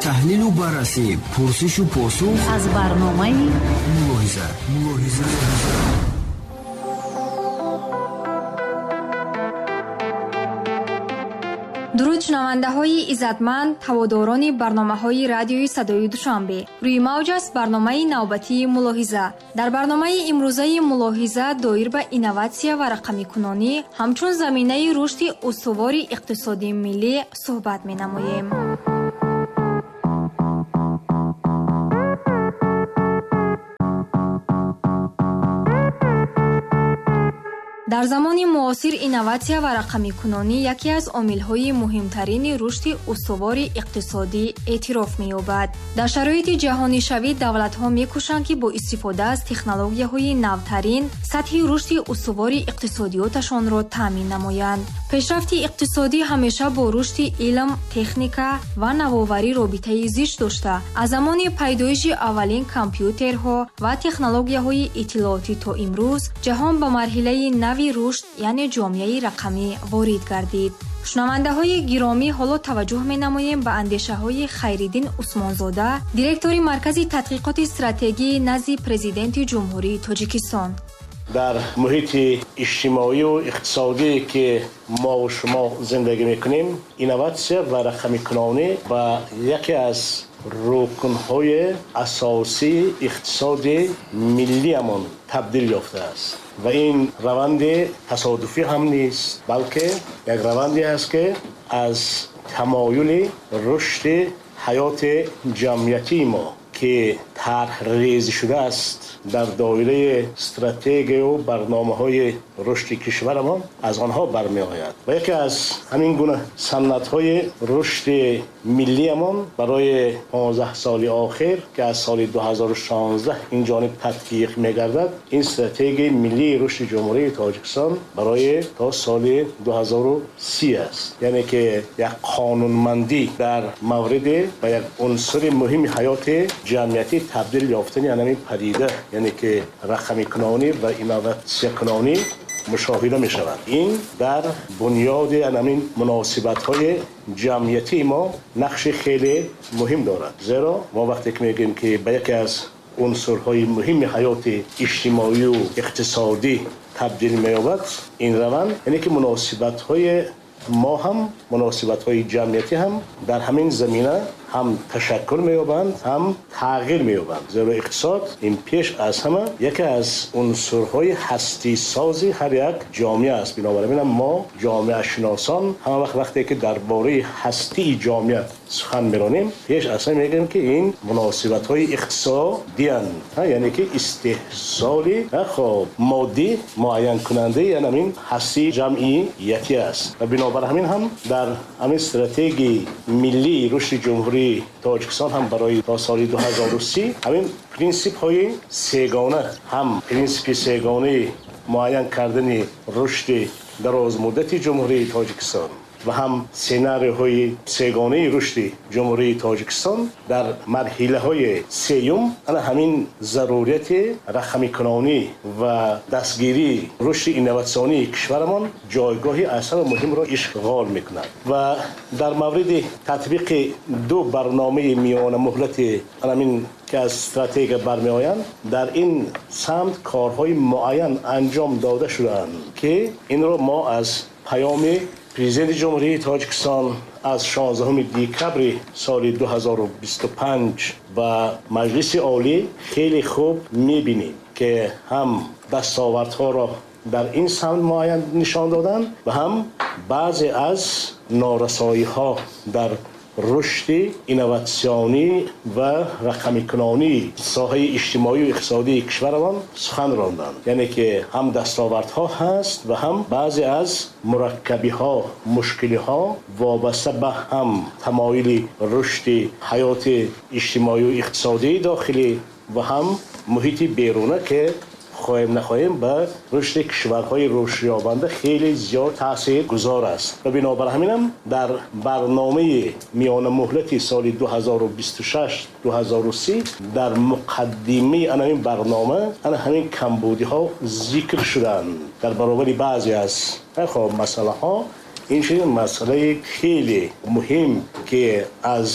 Таҳлилу баррасӣ, пурсишу посух аз барномаи Мулоҳиза. Мулоҳиза. Дуруд, шунавандаҳои иззатманд, ҳаводорони барномаҳои радиои Садои Душанбе. Рӯи мавҷ аст барномаи навбатии Мулоҳиза. Дар барномаи имрӯзаи Мулоҳиза доир ба инноватсия ва рақамикунонӣ ҳамчун заминаи рушди устувори иқтисодии миллӣ суҳбат менамоем. Дар замони муосир инноватсия ва рақамикунонӣ яке аз омилҳои муҳимтарини рушди устувори иқтисодӣ эътироф меёбад. Дар шароити ҷаҳонишавӣ давлатҳо мекӯшанд, ки бо истифода аз технологияҳои навтарин сатҳи рушди устувори иқтисодиёташонро таъмин намоянд. Пешрафти иқтисодӣ ҳамеша бо рушди илм, техника ва навоварӣ робитаи зич дошта, аз замони пайдоиши аввалин компютерҳо ва технологияҳои иттилоотӣ то имрӯз ҷаҳон ба марҳилаи нави рушд, яъне ҷомеаи рақамӣ ворид гардид. Шунавандаҳои гиромӣ, ҳоло таваҷҷӯҳ менамоем ба андешаҳои Хайриддин Усмонзода, директори Маркази тадқиқоти стратегии назди Президенти Ҷумҳурии Тоҷикистон. Дар муҳити иҷтимоию иқтисодие, ки мо шумо зиндагӣ мекунем, инноватсия ва рақамикунонӣ ба яке аз рукнҳои асосии иқтисоди миллиамон табдил ёфтааст. Ва ин раванди тасодуфӣ ҳам нест, балки як раванде аст, ки аз тамоюли рушди ҳаёти ҷамъиятии мо, ки тарҳрезӣ шудааст дар доираи стратегияю барномаҳои рушди кишварамон, аз онҳо бармеояд. Ва яке аз ҳамин гуна санъатҳои рушди миллиамон барои 15 соли охир, ки аз соли 2016 ин ҷониб татбиқ мегардад, ин стратегияи миллии рушди Ҷумҳурии Тоҷикистон барои то соли 2030 аст. Яъне ки як қонунмандӣ дар мавриди ба як унсури муҳими ҳаёти ҷамъиятӣ табдил ёфтани ҳамин падида, яъне ки рақамикунонӣ ва инноватсиякунонӣ мушоҳида мешавад. Ин дар бунёди ҳамин муносибатҳои ҷамъиятии мо нақши хеле муҳим дорад. Зеро мо вақте ки мегӯем, ки ба яке аз унсурҳои муҳими ҳаёти иҷтимоию иқтисодӣ табдил меёбад ин раванд, яъне ки муносибатҳои мо ҳам, муносибатҳои ҷамъиятӣ ҳам дар ҳамин замина ҳам ташаккул меёбанд, ҳам тағйир меёбанд. Зеро иқтисод ин пеш аз ҳама яке аз унсурҳои ҳастисози ҳар як ҷомеа аст. Бинобар ин мо ҷомеашиносон ҳама вақт вақте ки дар бораи ҳастии ҷомеа сухан меронем, пеш аз ҳама мегӯем, ки ин муносибатҳои иқтисодиянд, яъне ки истеҳсоли хоб моддӣ муайянкунандаи ҳамин ҳастии ҷамъиятӣ аст. Ва бинобар ҳамин ҳам дар ҳамин стратегияи миллии рушди Ҷумҳурии Тоҷикистон ҳам барои то соли 2030 ҳамин принсипҳои сегона, ҳам принсипи сегонаи муайян кардани рушди дарозмуддати Ҷумҳурии Тоҷикистон ва ҳам сценарийҳои сегонаи рушди Ҷумҳурии Тоҷикистон дар марҳилаҳои сеюм ана ҳамин зарурияти рақамикунонӣ ва дастгирии рушди инноватсионии кишварамон ҷойгоҳи аз ҳама муҳимро ишғол мекунад. Ва дар мавриди татбиқи ду барномаи миёнамуҳлати ҳамин, ки аз стратегия бармеоянд, дар ин самт корҳои муайян анҷом дода шудаанд, ки инро мо аз паёми Президенти Ҷумҳурии Тоҷикистон аз 16 декабри соли 2025 ба Маҷлиси Олӣ хеле хуб мебинем, ки ҳам дастовардҳоро дар ин самт муайян нишон доданд ва ҳам баъзе аз норасоиҳо дар рушди инноватсионӣ ва рақамикунонии соҳаи иҷтимоию иқтисодии кишварамон сухан ронданд. Яъне ки ҳам дастовардҳо ҳаст ва ҳам баъзе аз мураккабиҳо, мушкилиҳо вобаста ба ҳам тамоюли рушди ҳаёти иҷтимоию иқтисодии дохилӣ ва ҳам муҳити беруна, ки хоҳем нахоҳем ба рушди кишварҳои рушдёбанда хеле зиёд таъсиргузор аст. Ва бинобар ҳаминам дар барномаи миёнамуҳлати соли 2026-2030 дар муқаддимаи ана ҳамин барнома ана ҳамин камбудиҳо зикр шуданд. Дар баробари баъзе аз хоб масъалаҳо Инчунин масъалаи хеле муҳим, ки аз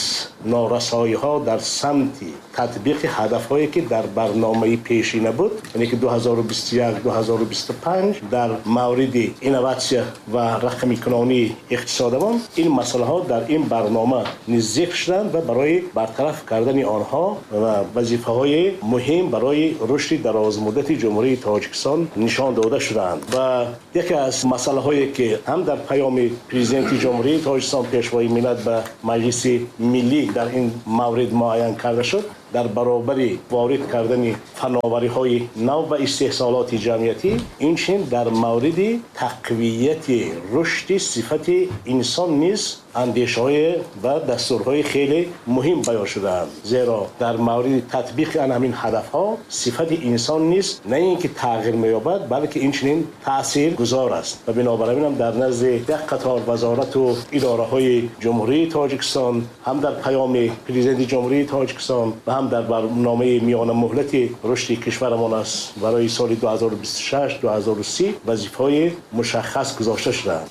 норасоиҳо дар самти татбиқи ҳадафҳое ки дар барномаи пешина буд, яъне ки 2021-2025 дар мавриди инноватсия ва рақамикунонии иқтисодамон, ин масъалаҳо дар ин барнома низ зикр шуданд ва барои бартараф кардани онҳо ва вазифаҳои муҳим барои рушди дарозмуддати Ҷумҳурии Тоҷикистон нишон дода шудаанд. Ва яке аз масъалаҳое ки ҳам дар паёми Президенти Ҷумҳурии Тоҷикистон, Пешвои миллат, ба Маҷлиси Миллӣ дар ин маврид муайян карда шуд, дар баробари ворид кардани фановариҳои нав ба истеҳсолоти ҷамъиятӣ, инчунин дар мавриди тақвияти рушди сифати инсон низ андешаҳое ва дастурҳои хеле муҳим баён шудаанд. Зеро дар мавриди татбиқи ан ҳамин ҳадафҳо сифати инсон низ на ин ки тағйир меёбад, балки инчунин таъсиргузор аст. Ва бинобар ин ҳам дар назди як қатор вазорату идораҳои Ҷумҳурии Тоҷикистон, ҳам дар паёми Президенти Ҷумҳурии Тоҷикистон ва ҳам дар барномаи миёнамуҳлати рушди кишварамон аст барои соли 2026-2030 вазифаҳои мушаххас гузошта шудаанд.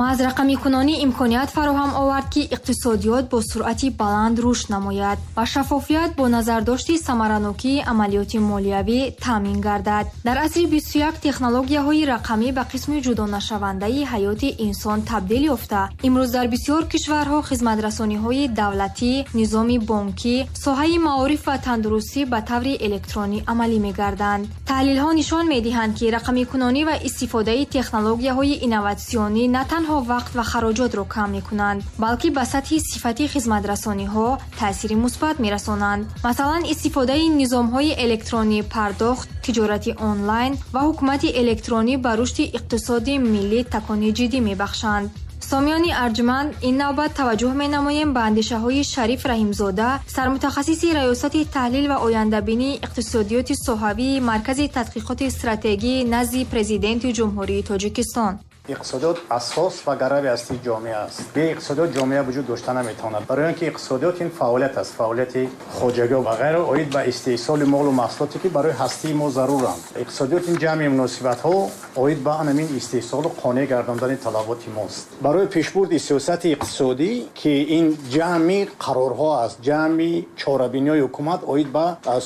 Маҳз рақамикунонӣ имконият фароҳам овард, ки иқтисодиёт бо суръати баланд рушд намояд ва шаффофият бо назардошти самаранокии амалиёти молиявӣ таъмин гардад. Дар асри 21 технологияҳои рақамӣ ба қисми ҷудонашавандаи ҳаёти инсон табдил ёфта, имрӯз дар бисёр кишварҳо хизматрасониҳои давлатӣ, низоми бонкӣ, соҳаи маориф ва тандурустӣ ба таври электронӣ амалӣ мегарданд. Таҳлилҳо нишон медиҳанд, ки рақамикунонӣ ва истифодаи технологияҳои инноватсионӣ на танҳо вақт ва хароҷотро кам мекунанд, балки ба сатҳи сифати хизматрасониҳо таъсири мусбат мерасонанд. Масалан, истифодаи низомҳои электронии пардохт, тиҷорати онлайн ва ҳукумати электронӣ ба рушди иқтисоди миллӣ такони ҷиддӣ мебахшанд. Сомиёни арҷманд, ин навбат таваҷҷӯҳ менамоем ба андешаҳои Шариф Раҳимзода, сармутахассиси Раёсати таҳлил ва ояндабинии иқтисодиёти соҳавии Маркази тадқиқоти стратегӣ назди Президенти Ҷумҳурии Тоҷикистон. Иқтисодиёт асос ва гарави ҳастии ҷомеа аст. Бе иқтисодиёт ҷомеа вуҷуд дошта наметавонад. Барои он ки иқтисодиёт ин фаъолият аст, фаъолияти хоҷагӣ ва ғайра оид ба истеҳсоли молу маҳсулоте ки барои ҳастии мо заруранд. Иқтисодиёт ин ҷамъи муносибатҳо оид ба ҳамин истеҳсолу қонеъ гардондани талаботи мост. Барои пешбурди сиёсати иқтисодӣ, ки ин ҷамъи қарорҳо аст, ҷамъи чорабиниҳои ҳукумат оид ба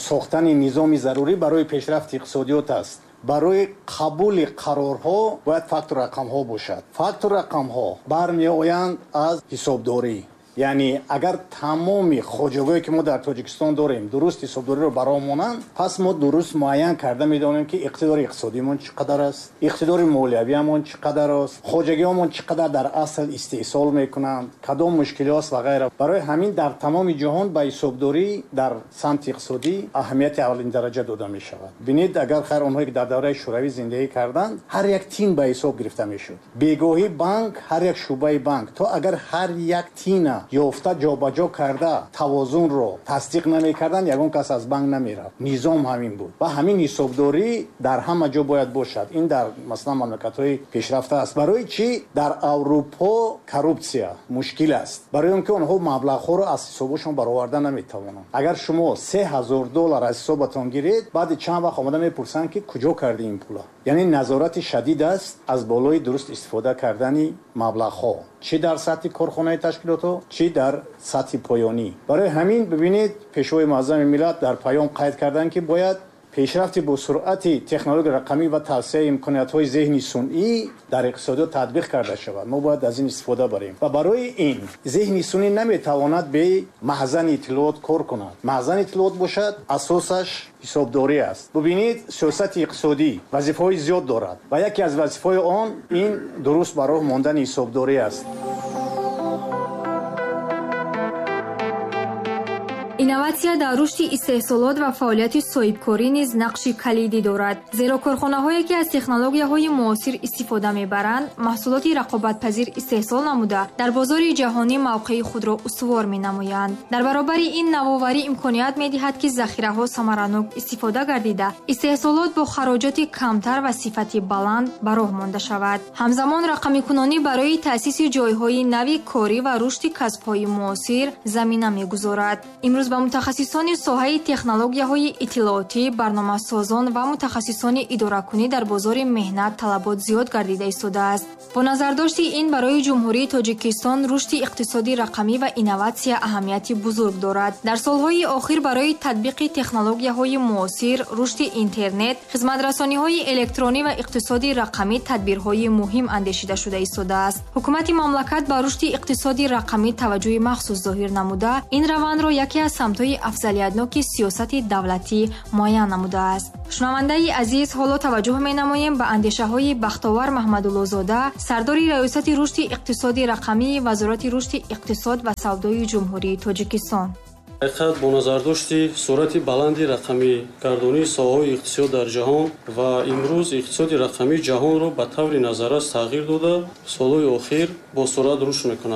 сохтани низоми зарурӣ барои пешрафти иқтисодиёт аст. Барои қабули қарорҳо бояд фактор рақамҳо бошад. Фактор рақамҳо бармеоянд аз ҳисобдорӣ. Яъне агар тамоми хоҷагиҳое ки мо дар Тоҷикистон дорем дуруст ҳисобдориро бароҳ монанд, пас мо дуруст муайян карда медонем, ки иқтидори иқтисодиамон чӣ қадар аст, иқтидори молиявиамон чӣ қадар аст, хоҷагиҳомон чӣ қадар дар асл истеҳсол мекунанд, кадом мушкилиҳост ва ғайра. Барои ҳамин дар тамоми ҷаҳон ба ҳисобдорӣ дар самти иқтисодӣ аҳамияти аввалин дараҷа дода мешавад. Бинед, агар хайр онҳое ки дар давраи шӯравӣ зиндагӣ карданд, ҳар як тин ба ҳисоб гирифта мешуд. Бегоҳӣ банк, ҳар як шӯъбаи банк, то агар ҳар як тина ёфта ҷобаҷо карда тавозунро тасдиқ намекарданд, ягон кас аз банк намерафт. Низом ҳамин буд ва ҳамин ҳисобдорӣ дар ҳама ҷо бояд бошад. Ин дар масалан мамлакатҳои пешрафта аст. Барои чӣ дар Аврупо коррупсия мушкил аст? Барои он ки онҳо маблағҳоро аз ҳисобашон бароварда наметавонанд. Агар шумо $3000 аз ҳисобатон гиред, баъди чанд вақт омада мепурсанд, ки куҷо кардӣ ин пула. Яъне назорати шадид аст аз болои дуруст истифода кардани маблағҳо, чӣ дар сатҳи корхонаи ташкилотҳо, чӣ дар сатҳи поёнӣ. Барои ҳамин бибинед, Пешвои муаззами миллат дар паём қайд карданд, ки бояд пешрафти бо суръати технологияи рақамӣ ва тавсеаи имкониятҳои зеҳни сунъӣ дар иқтисодиёт татбиқ карда шавад. Мо бояд аз ин истифода барем ва барои ин зеҳни сунъӣ наметавонад бе маҳзани иттилоот кор кунад. Маҳзани иттилоот бошад, асосаш ҳисобдорӣ аст. Бубинед, сиёсати иқтисодӣ вазифаҳои зиёд дорад ва яке аз вазифаҳои он ин дуруст ба роҳ мондани ҳисобдорӣ аст. Инноватсия дар рушди истеҳсолот ва фаъолияти соҳибкорӣ низ нақши калидӣ дорад, зеро корхонаҳое ки аз технологияҳои муосир истифода мебаранд, маҳсулоти рақобатпазир истеҳсол намуда, дар бозори ҷаҳонӣ мавқеи худро устувор менамоянд. Дар баробари ин навоварӣ имконият медиҳад, ки захираҳо самаранок истифода гардида, истеҳсолот бо хароҷоти камтар ва сифати баланд ба роҳ монда шавад. Ҳамзамон рақамикунонӣ барои таъсиси ҷойҳои нави корӣ ва рушди касбҳои муосир замина мегузорад. Имрӯз Ба мутахассисони соҳаи технологияҳои иттилоотӣ, барномасозон ва мутахассисони идоракунӣ дар бозори меҳнат талабот зиёд гардида истодааст. Бо назардошти ин барои Ҷумҳурии Тоҷикистон рушди иқтисоди рақамӣ ва инноватсия аҳамияти бузург дорад. Дар солҳои охир барои татбиқи технологияҳои муосир, рушди интернет, хизматрасониҳои электронӣ ва иқтисоди рақамӣ тадбирҳои муҳим андешида шуда истодааст. Ҳукумати мамлакат ба рушди иқтисоди рақамӣ таваҷҷӯҳи махсус зоҳир намуда, ин равандро яке аз самтҳои афзалиятноки сиёсати давлатӣ муайян намудааст. Шунавандаи азиз, ҳоло таваҷҷӯҳ менамоем ба андешаҳои Бахтовар Маҳмадуллозода, сардори Раёсати рушди иқтисоди рақамии Вазорати рушди иқтисод ва савдои Ҷумҳурии Тоҷикистон. Ҳақиқат, бо назардошти суръати баланди рақамигардонии соҳаҳои иқтисод дар ҷаҳон ва имрӯз иқтисоди рақамии ҷаҳонро ба таври назаррас тағйир дода, солҳои охир бо суръат рушд мекунад.